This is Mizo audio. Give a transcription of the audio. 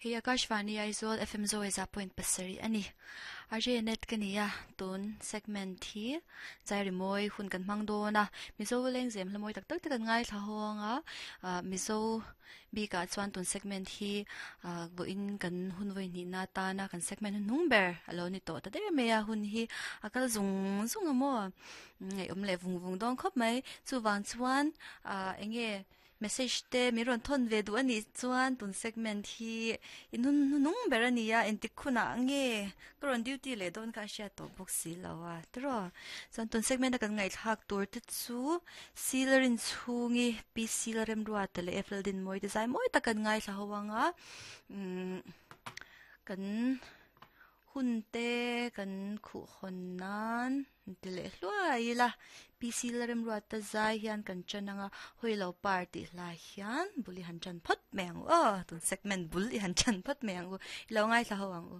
Hei Akashvani Aizawl FM Zaweza point pasarih a ni. RJ Net ka ni a, tun segment hi zai rimawi hun kan hmang dawn a. Mizo lengzem hla mawi tak tak te kan ngaithla hawng a, Mizo bikah chuan tun segment hi vawiin kan hun vawi hnihna atana kan segment hnuhnung ber a lo ni tawh ta der mai a, hun hi a kal zung zung a maw? Ngaihawm leh vung vung dawn khawp mai. Chuvang chuan eng nge Message te min rawn thawn ve duh a nih chuan tun segment hi i nun hnunung ber a ni a, engtik hunah nge ka rawn duty leh dawn kha a hriat tawh bawk si lo a tiraw. Chuan tun segment a kan ngaihthlak tur te chu Silarin chhungi Pi Silaremruata leh Eiffel Dinmawi te zai mawi tak kan ngaithla ho ang a, umm kan Hun te kan khuh hawn nan ti leh hluai ila, PC Lalremruata zai hian kan ṭan ang a, hawi lo par tih hlai hian bul i han ṭan phawt mai ang u aw, tun segment bul i han ṭan phawt mai ang u, i lo ngaithla ho ang u.